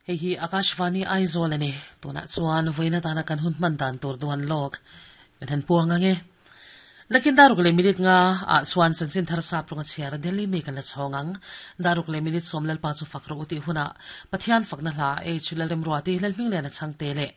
Hei hi Akashvani Aizawl a ni. Tunah chuan vawiin atana kan hun hman dan tur duan lawk kan han puang ang e. Nakin daruk leh minute nga ah chuan chanchin thar sap rawnga chhiar a Delhi mi kan la chhawng ang. Daruk leh minute sawm Lalpa chu fak rawh u tih hunah Pathian fakna hla H Lalremruati Lalhmingliana chhangte leh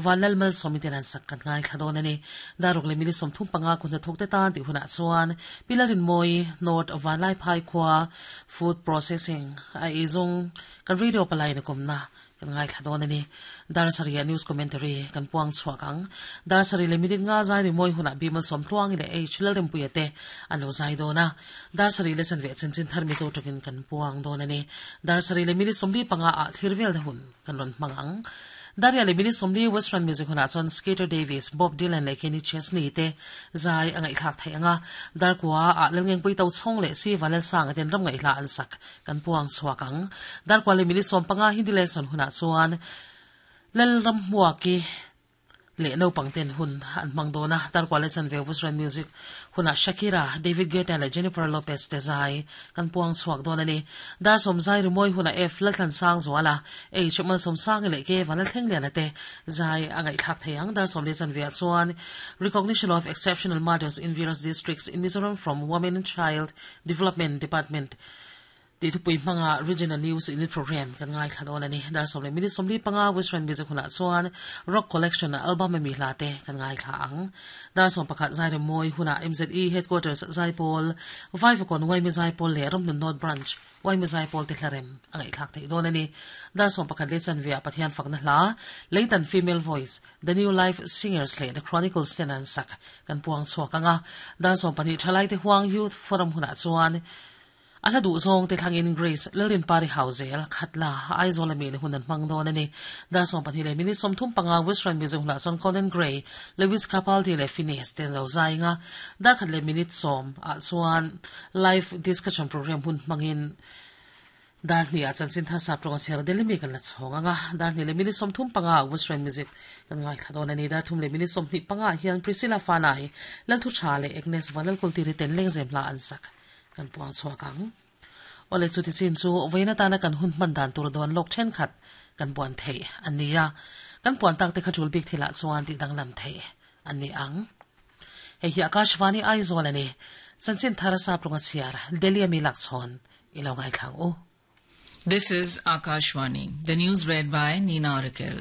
Vanlal Malsawmi ten an sak kan ngaithla dawn a ni. Daruk leh minute 35 kun hnathawk te tan tih hunah chuan Pi Lalrinmawii North Vanlaiphai khua Food Processing a eizawng Kan radio palai na kawmna kan ngaithla dawn a ni. Dar sarih ah news commentary kan puang chhuak ang. Dar sarih leh minute nga zai rimawi hunah Bimal Sawmtluangi leh H Lalrempuia te an lo zai dawn a. Dar sarih leh chanve chanchin thar Mizo tawngin kan puang dawn a ni. Dar sarih leh minute 45 ah thlir velna hun kan rawn hmang ang. Daria leh minute 40 Western music hunah chuan Skeeter Davis, Bob Dylan leh Kenny Chesney te zai a ngaihthlak theih ang a. Dar kua ah Lalngengpui Tochhawng leh Siva Lalsanga ten ram ngaihhla an sak Kan puang chhuak ang. Darkua leh minute 15 Hindi lesson hunah chuan Lalramhmuaki leh naupang ten hun an hmang dawn a. Darkua leh chanve Western music hunah Shakira, David Guetta leh Jennifer Lopez te zai kan puang chhuak dawn a ni. Dar sawm zai rimawi hunah F Lalthlansang Zuala, H Malsawmsangi leh K Vanlalthlengliana te zai a ngaihthlak thei ang. Dar sawm leh chanveah chuan Recognition of Exceptional Mothers in Various Districts in Mizoram from Women and Child Development Department tih thupui hmanga Regional News Unit Programme kan ngaithla dawn a ni. Dar sawm leh minute 45 Western Music hunah chuan Rock Collection album a mi hla te kan ngaithla ang. Dar 11 Zairem Mawi hunah MZE Headquarters Zaipawl, Vaivakawn Waimi Zaipawl leh Ramhlun North Branch Waimi Zaipawl te hlarem a ngaihthlak theih dawn a ni. Dar 11 leh chanve ah Pathian fakna hla, Leitan Female Voice, The New Life Singers leh The Chronicles ten an sak kan puang chhuak ang a. Dar 20 Thalaite Huang Youth Forum hunah chuan a hla duh zawng te thlangin Grace Lalrinpari Hauzel, Khatla, Aizawl ami in hun an hmang dawn a ni. Dar 20 leh minute 35 Western Music hunah chuan Conan Gray, Lewis Capaldi leh Finneas te an zo zai ang a. Dar khat leh minute 10 ah chuan Live Discussion Programme hun hmangin Dar hnih ah chanchin thar sap tawng a chher Delhi mi kan la chhawng ang a, dar hnih leh minute 35 ah Western music kan ngaithla dawn a ni. Dar thum leh minute 25 ah hian Priscilla Fanai, Lalthu Tha leh Agnes Vanlalkultiri ten lengzem hla an sak kan puang chhuak ang. Awle chuti chin chu vawiin atana kan hun hman dan tur dawn lawk thenkhat kan puan theih a ni a, kan puan tak te kha tul bik thilah chuan tih danglam theih a ni ang. Hei hi Akashvani Aizawl a ni. Chanchin thar sap rawnga chhiar Delhi ami lakchhawn i lo ngaithla ang u. This is Akashvani. The news read by Nina Oracle.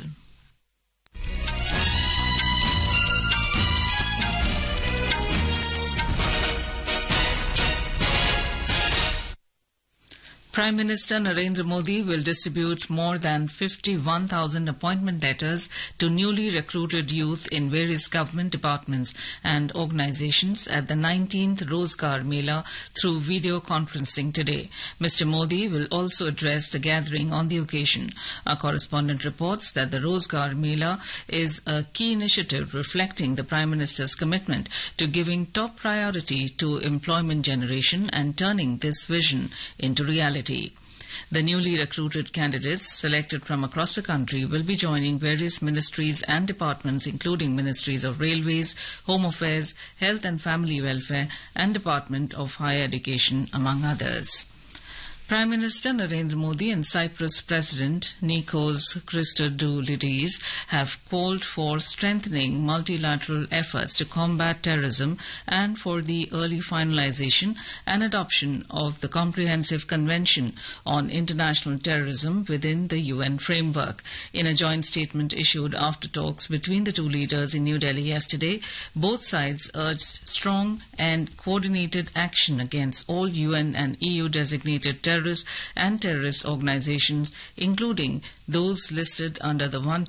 Prime Minister Narendra Modi will distribute more than 51,000 appointment letters to newly recruited youth in various government departments and organizations at the 19th Rozgar Mela through video conferencing today. Mr. Modi will also address the gathering on the occasion. Our correspondent reports that the Rozgar Mela is a key initiative reflecting the Prime Minister's commitment to giving top priority to employment generation and turning this vision into reality. The newly recruited candidates selected from across the country will be joining various ministries and departments including ministries of railways, home affairs, health and family welfare and department of higher education among others. Prime Minister Narendra Modi and Cyprus President Nikos Christodoulides have called for strengthening multilateral efforts to combat terrorism and for the early finalization and adoption of the Comprehensive Convention on International Terrorism within the UN framework. In a joint statement issued after talks between the two leaders in New Delhi yesterday, both sides urged strong and coordinated action against all UN and EU designated terrorists and terrorist organizations, including those listed under the 1